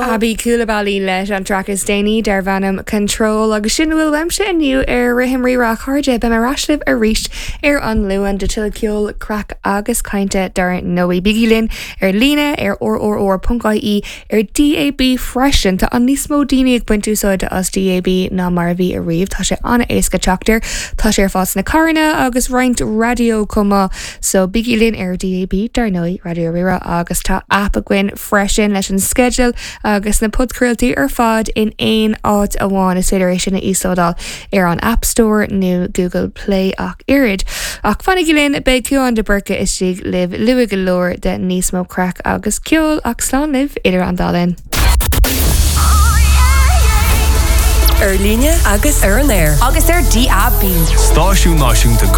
Aby Coulibaly leis an traic is déanaí darb ainm Control agus sin a bhfuil uaimse inniu ar Rithim Rí-Rá a chairde. Beidh mé ar ais libh arís ar an Luan do tuilleadh ceoil, craic agus cainte dar ndóigh. Bígí linn ar líne ar rrr.ie ar DAB freisin. Tá níos mó daoine ag baint úsáide as DAB ná mar a bhí ariamh. Tá sé an-éasca teacht air. Tá sé ar fáil sna carranna agus roinnt raidió chomh maith. So bígí linn ar DAB dar ndóigh, Raidió Rí-Rá agus tá aip againn freisin leis an sceideal agus na podchraoltaí ar fad in aon áit amháin. Is féidir é sin a íoslódáil ar an App Store nó Google Play ach oiread. Ach fanaigí linn, beidh Cuán de Búrca istigh libh luath go leor do níos mó craic agus ceoil ach slán libh idir an dá linn. Ar líne agus ar an aer. Agus ar DAB. Stáisiún Náisiúnta.